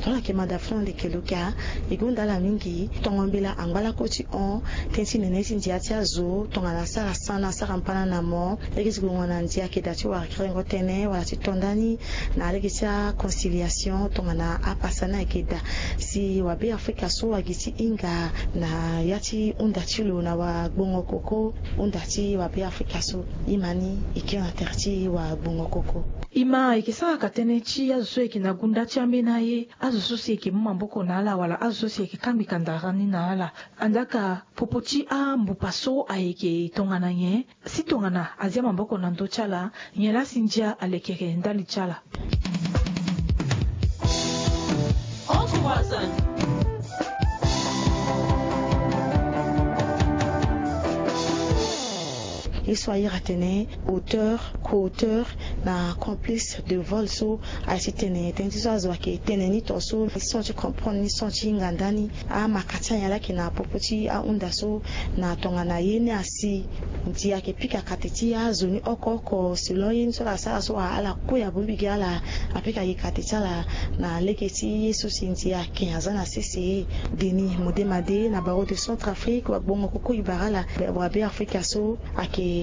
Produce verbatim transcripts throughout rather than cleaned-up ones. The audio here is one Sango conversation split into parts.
Tongana ayeke mada fini ande kelo kia, e gonda ala mingi. Tongo mbela angba lakue ti hon tënë ti nene ti ndia ti azo tongana asara sana asara mpana na mo. Lege ti gongo na ndia ayeke daa ti wara kerengo tënë wala ti to ndani na lege ti aconciliation tongana apasa ni ayeke daa. Si wabe afrika so agi ti hinga na ya ti hunda ti lo na wagbongo koko hunda ti wabe afrika so. Ima ni e kiri na tere ti wagbongo koko. Ima e yeke sara ka tënë ti azo so e yeke na gunda ti ambeni aye, azo so si e yeke mu maboko na ala wala azo so si e yeke kangbi kandara ni na ala. Andaa ka popo ti ambupa so ayeke tongana nyen? Si tongana azia maboko na ndö ti ala, nyen laa si ndia alekere ndali ti ala? Ye so a iri atene auteur, co-auteur na complice de vol so. Aye ti tene tënë ti so azo ayeke tene ni tongaso, ni so ti comprendre ni so ti hinga ndani. Amaka ti anyen laa ayeke na popo ti ahunda so na tongana ye ni asi. Ndia ayeke pika kate ti azo ni oko oko selon ye ni so ala sara so, ala kue abongbi gi ala, apika gi kate ti ala na lege ti ye so si ndia ayeke aza na sese. Denis Modemade na Barreau de Centrafrique, wagbongo koko e bara ala. Wabe afrika so ayeke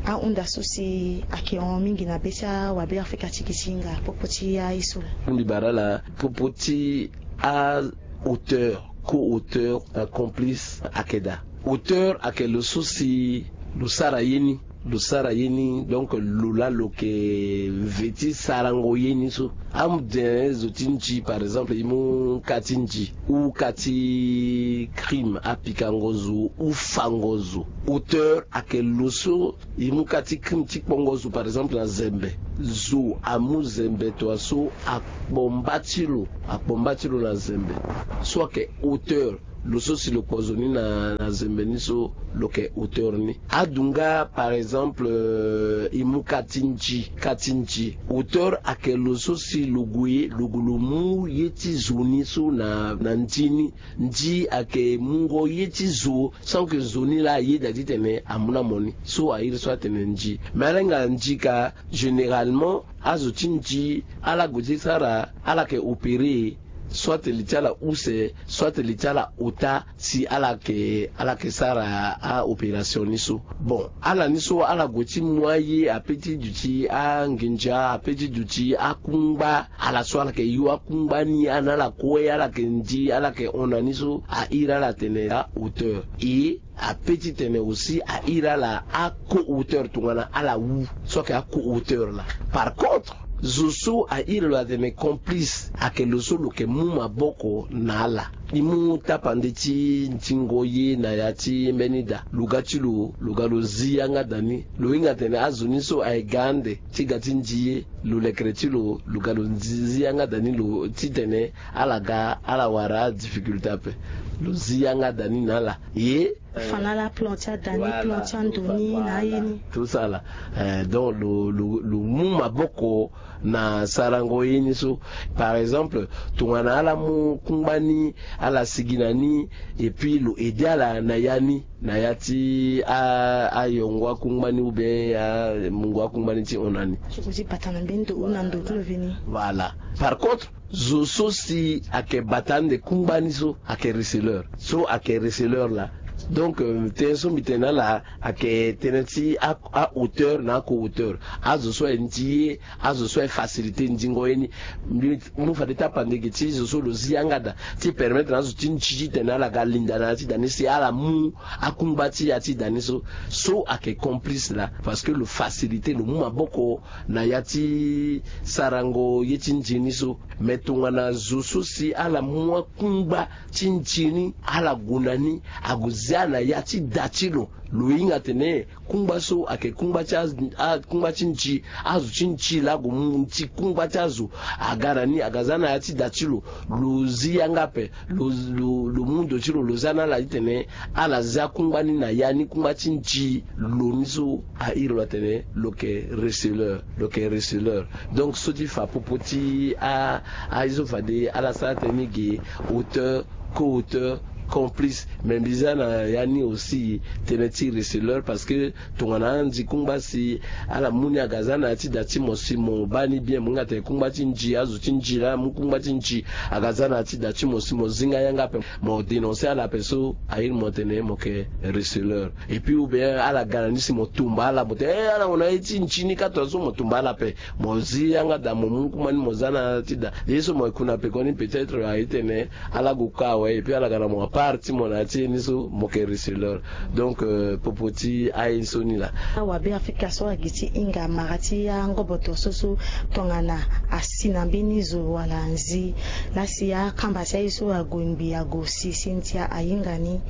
ahunda so si ayeke hon mingi na be ti awabe afrika ti gi ti hinga popo ti aye so laa. Mbi bara ala popo ti a auteur, co-auteur na complice ayeke daa. Auteur ayeke lo so si lo sara ye ni, lo sara ye ni, donc lo laa lo yeke ve ti sarango ye ni so. Amu tene zo ti nji, par exemple, e mu ka ti nji ou ka ti crime, apikango zo ou fango zo. Auteur ayeke lo so e mu ka ti crime ti kpongo zo, par exemple, na zembe. Zo amu zembe tongaso, akpo mba ti lo, akpo mba ti lo na zembe. So ayeke auteur, lo so si lo kpo zo ni na, na zembe ni so, lo yeke auteur ni. Adu nga, par exemple, euh, e mu ka ti nji, ka ti nji. Auteur ayeke lo so si lo gue, lo gue lo mu ye ti zo ni so na, na nji ni. Nji ayeke mungo ye ti zo sans que zo ni laa ayeda titene amu na mo ni. So a iri so atene nji. Me ala hinga nji ka, généralement azo ti nji ala gue ti sara, ala yeke opérer, soit li ti ala use, soit li ti ala ota, si ala yeke, ala yeke sara a-opération ni so. Bon, ala ni so ala gue ti mu aye ape ti duti anginza, ape ti duti akungba. Ala so ala yeke yo akungba ni, ana ala kue, ala yeke nji, ala yeke hon na ni so, a iri ala atene a-auteur. E ape ti tene aussi a iri ala a-co-auteur tongana ala wu, so ayeke a-co-auteur laa. Par contre, zo so a iri lo atene complice, ayeke lo so lo yeke mu maboko na ala. E mu tapande ti nzingo ye na ya ti mbeni da, lo ga ti lo, lo ga lo zi yanga da ni. Lo hinga tene azo ni so aye ga ande ti ga ti nji ye, lo lekere ti lo, lo ga lo zi, zi yanga da ni, lo titene ala ga, ala wara adifficulté ape. Lo zi yanga da ni na ala. Ye fa na ala plan ti ada ni, plan ti ando ni na aye ni. Tout ça là. Eh, donc lo, lo, lo mu maboko na sarango ye ni so. Par exemple, tongana ala mu kungba ni, ala sigi na ni, et puis lo aide ala na ya ni, na ya ti a, ayongo akungba ni ou bien amungo akungba ni ti hon na ni. So ko ti bata na mbeni ndo ou na ndo ti lo veni. Voilà. Par contre, zo so si ayeke bata ande kungba ni so ayeke receleur. So ayeke receleur laa. Donc, euh, tënë so mbi tene na ala ayeke tënë ti a, a-auteur na a-co-auteur. Azo so aye nji ye, azo so aye facilité nzingo ye ni. Mbi mu fade tapande gi ti zo so lo zi yanga da ti permettre na azo ti nji titene ala ga linda na ya ti da ni si ala mu akungba ti ya ti da ni so. So ayeke complice laa, parce que lo facilité, lo mu maboko na ya ti sarango ye ti nji ni so. Me tongana zo so si ala mu akungba ti nji ni, ala gue na ni, ague zia na ya ti da ti lo, lo hinga tene kungba so ayeke kungba ti a, a, kungba ti nji, azo ti nji laa ague mu nji kungba ti azo, aga na ni, aga za na ya ti da ti lo, lo zi yanga ape, lo, lo, lo mu ndo ti lo, lo za na ala titene ala zia kungba ni na ya ni kungba ti nji lo ni so. A iri lo atene lo yeke receleur, lo yeke receleur. Donc so ti fa popo ti a, aye so fade ala sara tënë ni ge, auteur, co-auteur, complice. Mais mbi za na ya ni aussi tënë ti receleur, parce que tongana anzi kungba si ala mu ni aga za na ya ti da ti mo si mo baa ni bien, mo hinga tene kungba ti nzi, azo ti nzi laa amu kungba ti nzi aga za na ya ti da ti mo si mo zi nga yanga ape, mo dénoncer ala ape so a iri mo tene mo yeke receleur. Et puis ou bien ala ga na ni si mo tumba ala, mo tene eh ala gue na ye ti nzi ni kâ tongaso, mo tumba ala ape, mo zi yanga da mo mu kuma ni mo za na ya ti da. Ye so mo yeke ku na pekoni peut-être a iri tene ala gue kâ awe, et puis ala ga na mo apart ti mo na ya ti ye ni so mo yeke receleur. Donc euh, popo ti aye ni so ni laa. Awabe Afrika so agi ti hinga mara ti angoboto so so tongana asi na mbeni zo wala nzi, laa si akamba ti aye so ague ngbi ague si si ndia ahinga ni,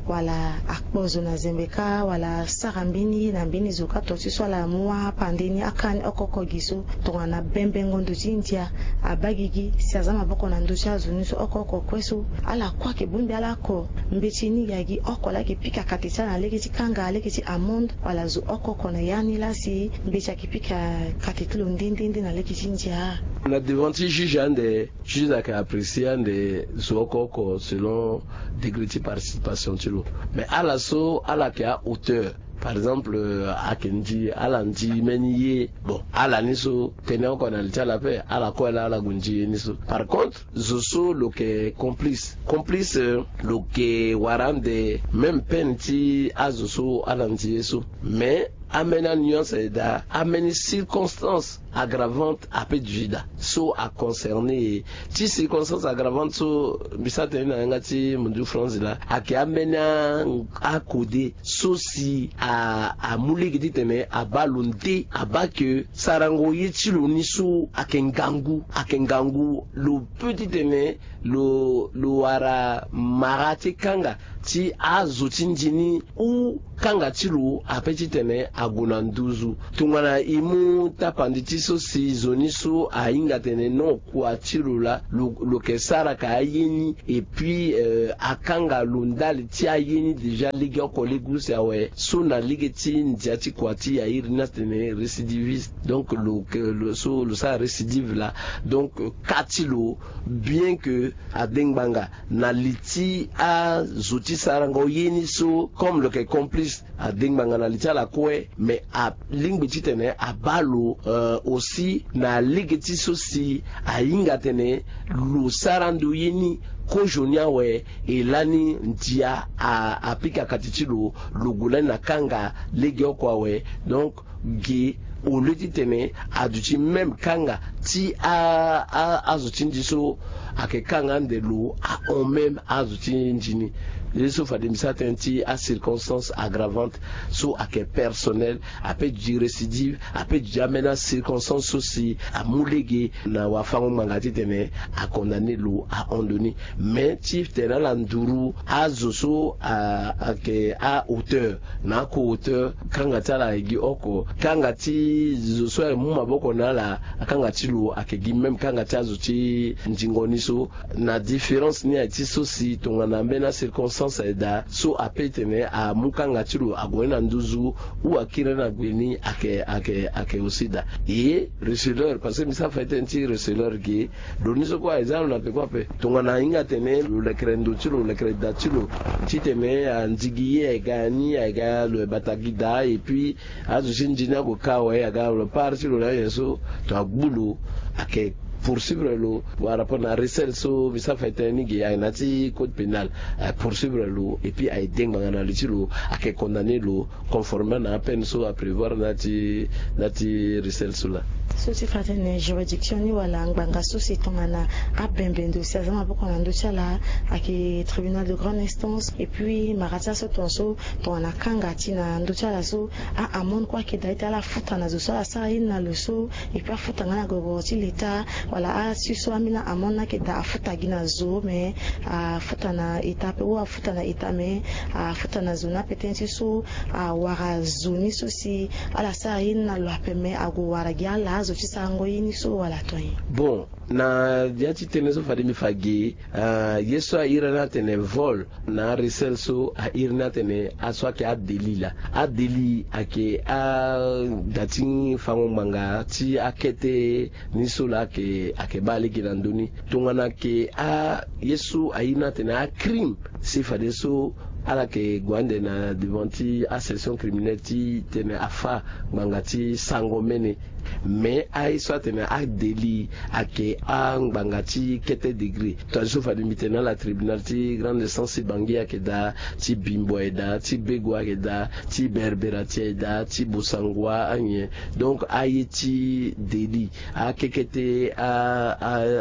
wala akpo zo na zembe kâ, wala asara mbeni ye na mbeni zo kâ, to ti so ala mu apande ni akâ ni oko oko gi so. Tongana bembengo ndo ti ndia abaa gigi si aza maboko na ndö ti azo ni so oko oko kue so, ala kue ayeke bongbi ala oko. Mbeti ni gi agi oko laa ayeke pika kate ti ala na lege ti kanga, lege ti amende, wala zo oko oko na ya ni laa si mbeti ayeke pika kate ti lo nde nde nde na lege ti ndia. Na devant ti juge ande, juge ayeke apprécier ande zo oko oko selon degré ti participation ti lo. Mais ala so ala yeke a-hauteur, par exemple euh, ayeke ndi, ala ndi mbeni ye, bon, ala ni so tënë oko na li ti ala ape, ala kue laa ala gue ndi ye ni so. Par contre zo so lo yeke complice, complice euh, lo yeke wara ande même peine ti azo so ala ndi ye so. Mais ambeni anuance aye daa, ambeni circonstance aggravante apeut gi daa so aconcerné e. Ti circonstance aggravante so mbi sara tënë ni na yanga ti mundu France laa, ayeke ambeni a, akode so si a, amu lege titene abaa lo nde, abaa ke sarango ye ti lo ni so ayeke ngangu, ayeke ngangu, lo peut titene lo, lo wara mara ti kanga ti azo ti nzi ni ou kanga ti lo apeut titene ague na nduzu. Tongana e mu tapandi ti so si zo ni so ahinga tene non, kua ti lo laa lo, lo yeke sara ka aye ni, et puis euh, akanga lo ndali ti aye ni déjà legeoko lege use awe, so na lege ti ndia ti kua ti e a iri ni atene récidiviste. Donc lo, lo so lo sara récidive laa, donc euh, kâ ti lo, bien que adengbanga na li ti azo ti sarango ye ni so, comme lo yeke complice, adengbanga na li ti ala kue, mais alingbi titene abaa lo euh, aussi na lege ti so si ahinga tene lo sara ndo ye ni kozoni awe, e lani ndia a, apika kati ti lo, lo gue lani na kanga legeoko awe. Donc ge, au lieu titene aduti même kanga ti a, a, azo ti nzi so ayeke kanga ande lo ahon même azo ti nzi ni. Ye so fade mbi sara tënë ti acirconstance aggravante so ayeke personnel, apeut gi récidive, apeut gi ambeni acirconstance so si amu lege na wafango-ngbanga titene acondamné lo ahon ndo ni. Mais ti tene ala nduru azo so a, ayeke a-hauteur na a-co-auteur, kanga ti ala ayeke gi oko, kanga ti zo so amu maboko na ala, akanga ti lo ayeke gi même kanga ti azo ti nzingo ni so. Na différence ni aye ti so si tongana ambeni acirconstance aye daa so apeut tene amu kanga ti lo ague ni na nduzu ou akiri ni na gbe ni, ayeke, ayeke, ayeke aussi daa. E receleur, parce que mbi sara fa tënë ti receleur ge, lo ni so kue aye za lo na peko ape. Tongana ahinga atene lo lekere ndo ti lo, lo lekere da ti lo, titene andigi ye aye ga ni, aye ga lo ye bata gi daa, et puis azo ti nzi ni ague kâ awe, aga lo part ti lo na nyen so, to agbu lo, ayeke poursuivre lo par rapport na recel so mbi sara fa tënë ni ge, aye na ya ti code pénal, aye poursuivre lo et puis aye de ngbanga na li ti lo, ayeke condamné lo conformément na apeine so aprévoir na ya ti, na ya ti recel so laa. So ti fa tënë, juridiction ni wala ngbanga so si tongana abembe ndo si aza maboko na ndö ti ala, ayeke tribunal de grande instance, et puis mara ti aso tongaso, tongana akanga ti na ndö ti ala so, a-amende kue ayeke daa ti ala afuta na zo so ala sara ye ni na lo so, et puis afuta nga na gogoro ti leta, wala asi so ambeni amende ni ayeke daa afuta gi na zo, mais afuta na eta pe ou afuta na eta, mais afuta na zo ni ape tënë ti so, awara zo ni so si ala sara ye ni na lo ape, mais ague wara gi ala azo ti sarango ye ni so wala tonye. Bon, na ya ti tënë so fade mbi fa ge, ah, ye so a iri ni atene vol, na arecel so a iri ni atene aso ayeke adélit laa. Adélit ayeke ada ti fango ngbanga ti akete ni so laa ayeke, ayeke baa lege na ndö ni. Tongana ayeke a, ye so a iri ni atene acrime, Si fadeso ala yeke gue ande na devant ti asession criminelle ti tene afa ngbanga ti sango mene. Mais aye so atene adeli ayeke angbanga ti kete degré. Tongana so fade mbi tene na ala tribunal ti grande instance ti bangi ayeke daa, ti bimbo ayeke daa, ti bego ayeke daa, ti berberatie ayeke daa, ti bosangoa anyen. Donc aye ti deli, akekete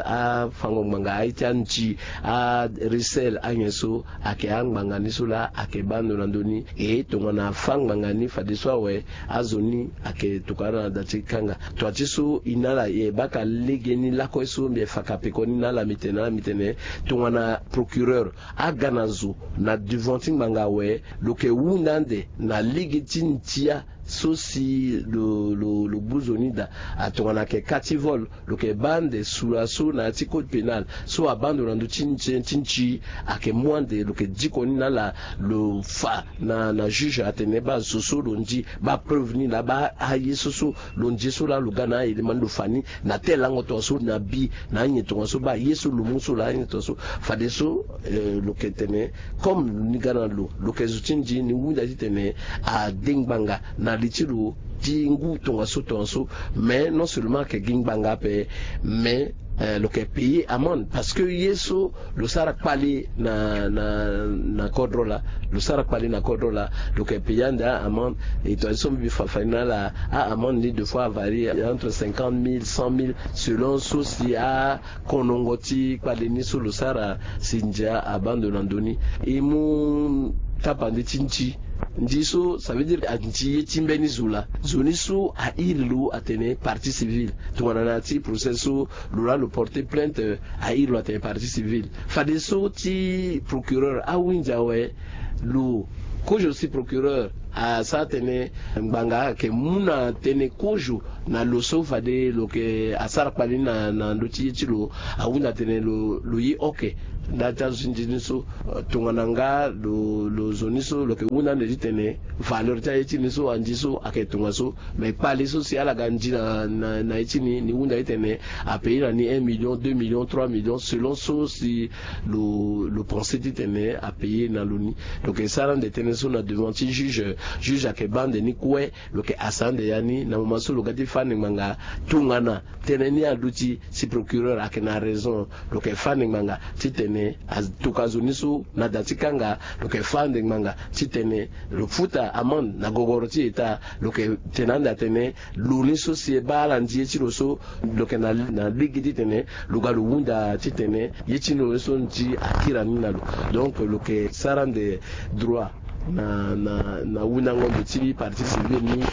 afango ngbanga, aye ti anzi, arisel anyen so ayeke angbanga ni so laa ayeke baa ndo na ndö ni. E tongana afa ngbanga ni fadeso awe, azo ni ayeke tokua na da ti kanga. Tua ti so e na ala e baka legeni lakue so mbi yeke fa kapeko ni na ala, mbi tene na ala mbi tene, tongana procureur aga na zo na devant ti ngbanga awe, lo yeke hunda ande na lege ti ndia so si lo lo lo gbu zo ni daa. Tongana ayeke ka ti vol, lo yeke baa ande sura so na ya ti code pénal so abaa ndo na ndö ti nzi ti nzi, ayeke mu ande lo yeke diko ni na ala. Lo fa na na juge atene baa zo so lo nzi, baa preuve ni laa, baa aye so so lo nzi so laa lo ga na aye lema ni lo fa ni na tel lango tongaso na bi na anyen tongaso, baa ye so lo mu so laa anyen tongaso. Fadeso lo yeke tene comme ni ga na lo, lo yeke zo ti nzi ni hunda titene ade ngbanga na li ti lo ti ngu tongaso tongaso. Mais non seulement ayeke gi ngbanga ape, mais lo yeke payer amende parce que ye so lo sara kpale na na na kodro laa, lo sara kpale na kodro laa, lo yeke payer ande amende. Et tongaso mbi fa fani na ala, amende ni deux fois avarie entre cinquante mille, cent mille selon so si a konongo ti kpale ni so lo sara si ndia abaa ndo na ndö ni. E mu tapande ti nzi. Nzi so ça veut dire anzi ye ti mbeni zo laa, zo ni so airi lo atene partie civile. Tongana na ya ti procès so lo laa lo porter plainte, airi lo atene partie civile. Fadeso ti procureur ahunzi awe, lo kozo si procureur asara tene ngbanga ayeke mu na tënë kozo na lo so fade lo yeke asara kpale ni na na ndö ti ye ti lo. Ahunda tene lo lo ye oke. Nda ti azo ti nzi ni so, tongana nga lo lo zo ni so lo yeke hunda ande titene valeur ti aye ti ni so anzi so ayeke tongaso. Mais kpale so si ala ga nzi na na na ye ti ni, ni hunda titene apayer na ni un million, deux millions, trois millions selon so si lo lo pense titene apayer na lo ni. Lo yeke sara ande tënë so na devant ti juge. Juge ayeke baa ande ni kue. Lo yeke hasa ande ya ni na moment so lo ga ti fâ ande ngbanga tongana tënë ni aluti si procureur ayeke na raison. Lo yeke fâ ande ngbanga titene atokua zo ni so na da ti kanga. Lo yeke fâ ande ngbanga titene lo futa amende na gogoro ti eta. Lo yeke tene ande atene lo ni so si e baa ala nzi ye ti lo so, lo yeke na na lege titene lo ga lo hunda titene ye ti lo ni so nzi akiri ni na lo. Donc lo yeke sara ande droit na na na hundango ndo ti partie civile ni.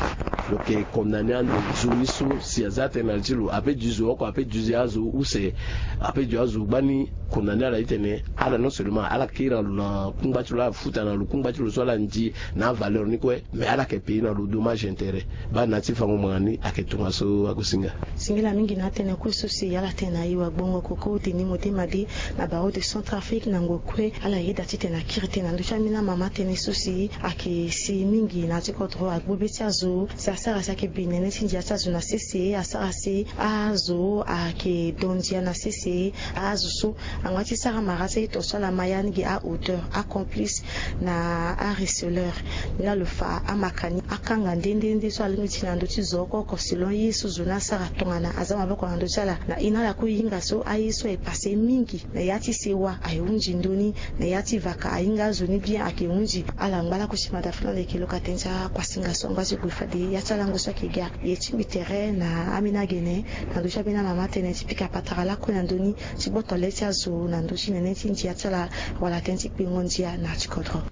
Lo yeke condamner ande zo ni so si aza tënë na li ti lo, ape duize oko, ape duize azo use, ape duize azo gbani. Condamner ala titene ala non seulement ala kiri na lo na kungba ti lo, ala futa na lo kungba ti lo so ala nzi na avaleur ni kue, mais ala yeke payer na lo dommage intérêt. Baa na ya ti fango ngbanga ni ayeke tongaso agosinga. Singila mingi na atënë kue so si ala tene na e wagbongo koko Denis Modema Dee na barreau de Centrafrique na ngoi kue. Ala yeda titene akiri tënë na ndö ti ambeni amama tënë so si ayeke si mingi na ya ti kodro agbu be ti azo si asara si ayeke bi nene ti ndia ti azo na sese, asara si azo ayeke do ndia na sese. Azo so angba ti sara mara ti aye tongaso ala ma ya ni gi ahauteur, acomplice na areceleur. Ni laa lo fa amaka ni akanga nde nde nde so alingbi ti na ndö ti zo oko oko selon ye so zo ni asara tongana aza maboko na ndö ti ala. Na e na ala kue e hinga so aye so aye passe mingi na ya ti sewa aye hunzi ndö ni, na ya ti vaka ahinga azo ni bien ayeke hunzi. Ala ngba lakue ti mada fini ande yeke lo ka tënë ti akuasinga so angba ti gue fade ya ti alango so ayeke ga. E tingbi tere na ambeni agene na ndö ti ambeni amama tënë ti pika patara lakue na ndö ni ti gboto le ti azo na ndö ti nene ti ndia ti ala wala tënë ti kpengo ndia na ya ti kodro.